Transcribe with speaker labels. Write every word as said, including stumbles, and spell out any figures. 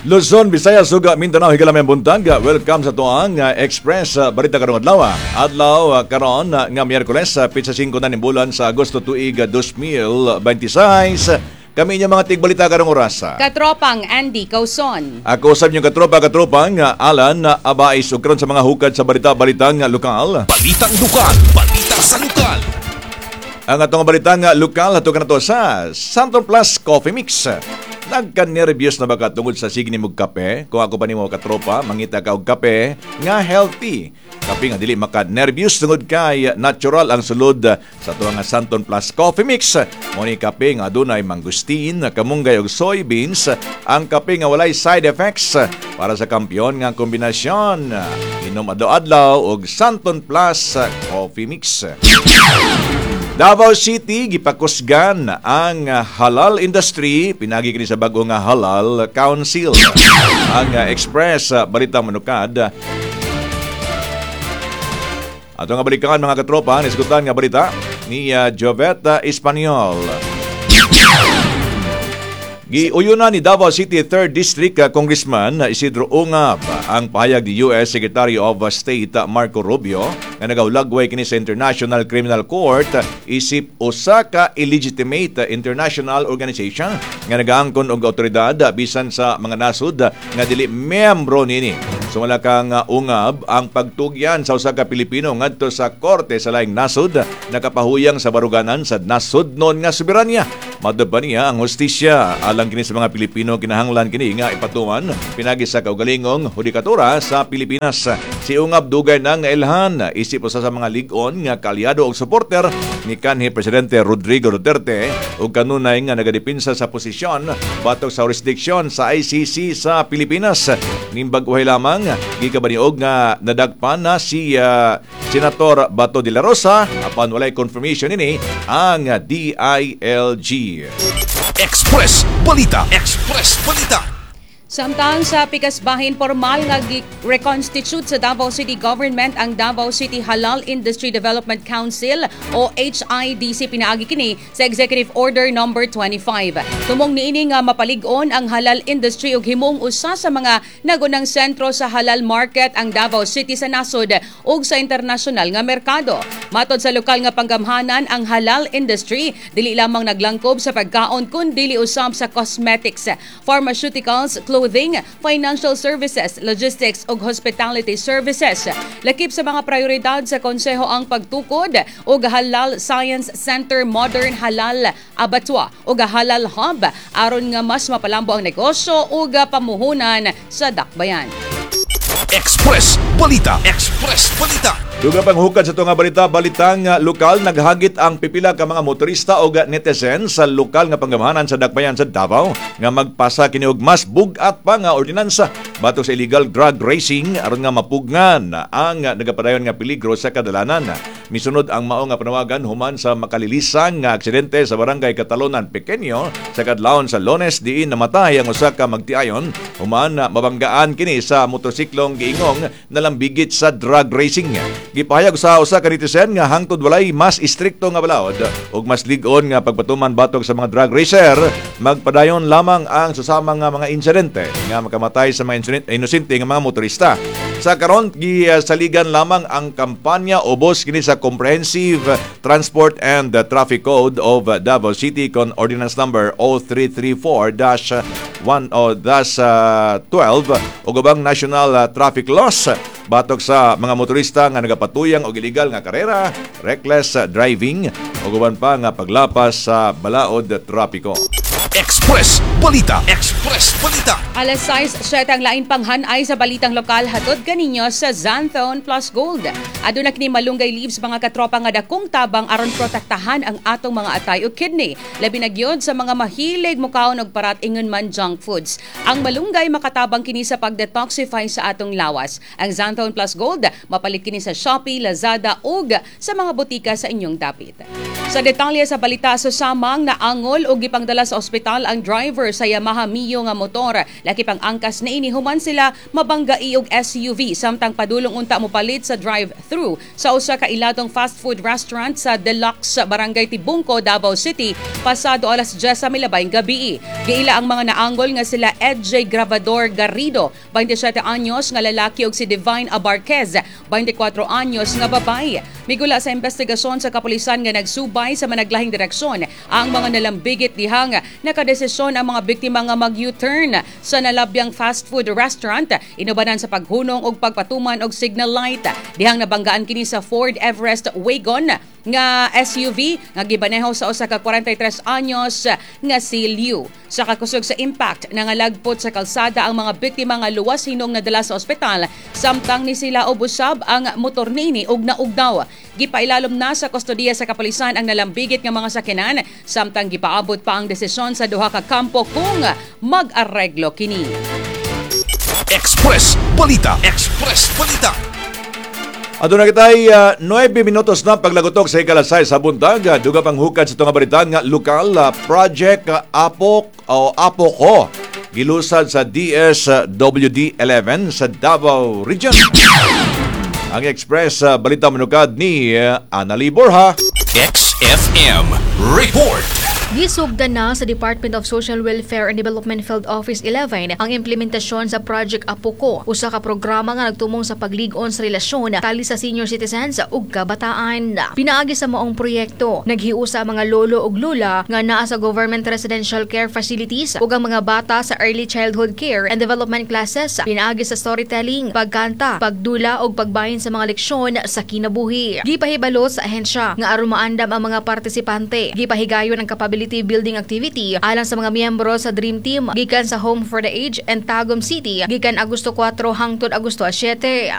Speaker 1: Luzon, Visayas ug Mindanao, higala maayong buntag. Welcome sa atoang uh, Express uh, Balita karong adlaw. Adlaw uh, karon uh, nga Miyerkules, uh, petsa singko na ning bulan sa Agosto tuig uh, dos mil twenty-six. Kami inyong mga tigbalita karong oras.
Speaker 2: Katropang Andy Causon.
Speaker 1: Ako sa inyong katropa, katropang uh, Alan uh, Abais, ug karon sa mga hukad sa balita-balitang uh, lokal.
Speaker 3: Balitang lokal, balita sa lokal.
Speaker 1: Ang atong balitang uh, lokal ato kanato sa Xanthone Plus Coffee Mix. Nagka-nervyos na ba ka tungod sa sige nimo kape? Kung ako pa nimo katropa, mangita ka og kape nga healthy. Kape nga dili maka-nervyos tungod kay natural ang sulod sa atuang nga Xanthone Plus Coffee Mix. Mao ni kape nga adunay mangosteen, kamunggay ug soybeans, ang kape nga walay side effects para sa kampiyon nga kombinasyon. Inom adlaw-adlaw og Xanthone Plus Coffee Mix. Davao City, gipakusgan ang halal industry pinagi kini sa bag-o nga Halal Council. Ang Express Balita Manukad. Ato nga balikan, mga katropa, nisgutan nga balita ni uh, Joveta Espanyol. Giuyunan ni Davao City third District uh, Congressman uh, Isidro Ungab ang pahayag ni U S Secretary of State uh, Marco Rubio nga nagahulagway kini sa International Criminal Court uh, isip usa ka illegitimate uh, international organization nga nagaangkon og awtoridad uh, bisan sa mga nasod uh, nga dili miyembro nini. Sumala kang uh, Ungab, ang pagtugyan sa usa ka Pilipino ngadto sa korte sa laing nasod nakapahuyang sa baruganan sa nasodnon nga soberanya. Matod pa niya, ang hustisya alang kini sa mga Pilipino kinahanglan kini nga ipatuman pinagi sa kaugalingong hudikatura sa Pilipinas. Si Ungab dugay nang nailhan isip usa sa mga lig-on nga kaalyado og suporter ni kanhi Presidente Rodrigo Duterte ug kanunay nga nagadepinsa sa posisyon batok sa jurisdiksyon sa I C C sa Pilipinas. Nimbag-uhay lamang gikabaniog nga nadagpan na si uh, Senator Bato de la Rosa, apan walay confirmation ini ang D I L G.
Speaker 3: Express Balita. Express Balita.
Speaker 2: Samtang sa pikas bahin, formal nga gi-reconstitute sa Davao City Government ang Davao City Halal Industry Development Council o H I D C pinaagi kini sa Executive Order Number twenty-five. Tumong niini nga mapalig-on ang halal industry ug himong usa sa mga nagunang sentro sa halal market ang Davao City sa nasod ug sa internasyonal nga merkado. Matod sa lokal nga panggamhanan, ang halal industry dili lamang naglangkob sa pagkaon kundi usab sa cosmetics, pharmaceuticals, clothing, financial services, logistics ug hospitality services. Lakip sa mga prioridad sa konseho ang pagtukod og Halal Science Center, Modern Halal Abattoir ug Halal Hub aron nga mas mapalambo ang negosyo ug pamuhunan sa dakbayan.
Speaker 3: Express Balita. Express Balita.
Speaker 1: Dugang pang hukad sa nga balita, balitang uh, lokal, naghagit ang pipila ka mga motorista o netizen sa lokal nga panggamhanan sa dakbayan sa Davao nga magpasa kini og mas bug-at pa nga ordinansa batok sa illegal drag racing aron nga mapugngan ang nagapadayon nga peligro sa kadalanan. Misunod ang mao nga panawagan human sa makalilisang nga aksidente sa Barangay Catalonan Pequeño sa kadlawon sa Lones diin namatay ang usa ka magtiayon human mabanggaan kini sa motorsiklong giingong nalambigit sa drag racing. Gipahayag sa usa ka netizen nga hangtod walay mas istrikto nga balaod ug mas lig-on nga pagpatuman batok sa mga drag racer, magpadayon lamang ang susamang nga mga insidente nga makamatay sa mga inosente nga mga motorista. Sa karon, gisaligan lamang ang kampanya ubos kini sa Comprehensive Transport and Traffic Code of Davao City kon Ordinance Number zero three three four dash one o dash uh, twelve ug ubang national uh, traffic laws batok sa mga motorista nga nagapatuyang og illegal nga karera, reckless driving ug uban pa nga paglapas sa balaod trapiko.
Speaker 3: Express Balita. Express Balita.
Speaker 2: Alas sais siyete, ang lain pang hanay sa balitang lokal hatod kaninyo sa Xanthone Plus Gold. Aduna kini malunggay leaves, mga katropa, nga dakong tabang aron protektahan ang atong mga atay o kidney. Labi na gyud sa mga mahilig mukaon og parat, ingon man junk foods. Ang malunggay makatabang kini sa pag-detoxify sa atong lawas. Ang Xanthone Plus Gold mapalit kini sa Shopee, Lazada ug sa mga botika sa inyong dapit. Sa detalye sa balita, sa samang naangol og gipangdala sa ospital ang driver driver sa Yamaha Mio nga motor. Laki pang angkas niini human sila mabanggai og S U V samtang padulong unta mopalit sa drive-thru sa usa ka iladong fast food restaurant sa Deluxe, Barangay Tibungco, Davao City, pasado alas diyes sa milabayng gabi. Giila ang mga naanggol nga sila Ed J. Gravador Garrido, beinte siyete anyos nga lalaki, ug si Divine Abarquez, beinte kuwatro anyos nga babae. Migula sa investigasyon sa kapulisan nga nagsubay sa managlahing direksyon ang mga nalambigit dihang nakadesisyon ang mga biktima nga mag-U-turn sa nalabyang fast food restaurant inubanan sa paghunong og pagpatuman og signal light. Dihang nabanggaan kini sa Ford Everest Wagon nga S U V nga gibaneho sa usa ka kuwarenta y tres anyos nga si Liu. Sa kakusog sa impact, nangalagpot sa kalsada ang mga biktima nga luwas hinong nadala sa ospital samtang ni sila usab ang motor niini og naugnaw. Gipailalom na sa kustodiya sa kapulisan ang nalambigit nga mga sakyanan samtang gipaabot pa ang desisyon sa duha ka kampo kung mag-areglo kini.
Speaker 3: Express Balita. Express Balita.
Speaker 1: Aduna kitay uh, nuwebe minutos na paglagutok sa ikalas sais sa buntag. Duga pang hukad sa itong balita nga lokal, uh, Project uh, Apok o Apo Ko gilusad sa D S W D eleven sa Davao Region. Ang Express uh, Balita manukad ni uh, Anali Borja.
Speaker 3: X F M Report.
Speaker 4: Gisugdan na sa Department of Social Welfare and Development Field Office eleven ang implementasyon sa Project Apoko, usa ka programa nga nagtumong sa paglig-on sa relasyon tali sa senior citizens ug kabataan. Pinaagi sa maong proyekto, naghiusa ang mga lolo ug lola nga naa sa government residential care facilities ug ang mga bata sa early childhood care and development classes pinaagi sa storytelling, pagkanta, pagdula ug pagbahin sa mga leksyon sa kinabuhi. Gipahibalo sa ahensya nga aron maandam ang mga partisipante, gipahigayon ang capability building activity alang sa mga miyembro sa Dream Team gikan sa Home for the Aged and Tagum City gikan Agosto kuwatro hangtod Agosto siyete.